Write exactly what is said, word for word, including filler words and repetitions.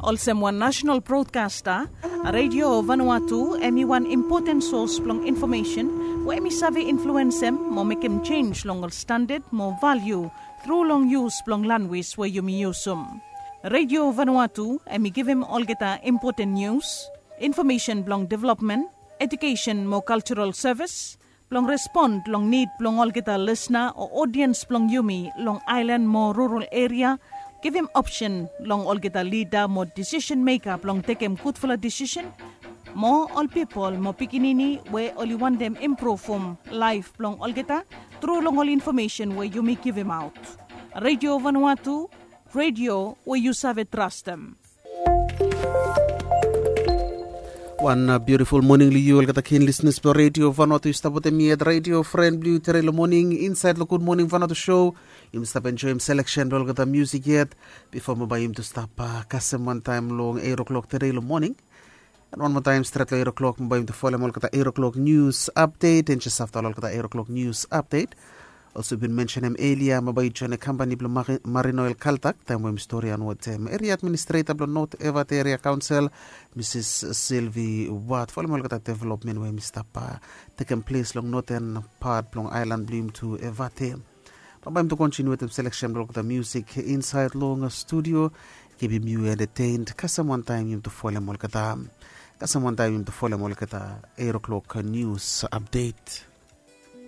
Olsem wan national broadcaster, Radio Vanuatu em i wan impoten sos blong infomesen we em i save influensem mo mekem jenj long ol standad mo valiu tru long yus blong lanwis we yumi yusum. Radio Vanuatu em i givim olgeta impoten nius, infomesen blong developmen, edukesen mo kaltural sevis, blong respon long nid blong olgeta lisna o odiens blong yumi long aelan mo rural eria, givim opsen long olgeta lida mo disisen meka blong tekem gudfala disisen, mo ol pipol mo pikinini we oli wantem impruvum laef blong olgeta tru long ol infomesen we yumi givimaot. Radio Vanuatu, radio we yu save trastem. Wan biutiful moning long yu olgeta kin lisnis blong Radio Vanuatu, yu stap wetem mi at radio fren blong yu tere long moning insaed long Gud Moning Vanuatu show. Yumi stap enjoem seleksen blong olgeta musik yet bifo mo bae yumi tu stap kasem wantaem long eit o'klok tere long moning. And wan moa taem stret long eit o'klok mo bae yumi tu folem olgeta eit o'klok nius apdet, and jes afta olgeta eit o'klok nius apdet. Olsem bin mensenem elia, mo bae yu joenem kampani blong Marine Oil Kaltak taem we mi stori antwod eria administreta blong Not Evat Eria Kaonsel, Misis Silvi Wat, folem olgeta developmen we mi stap tekem ples long noten pat blong aelan blong yumi tu Evate. Bambae mi tu kontiniu wetem seleksen blong olgeta musik insaed long studio. Kipim yu entetened kasem wantaem yumi tu folem olgeta kasem wantaem yumi tu folem olgeta eit o'klok nius apdet.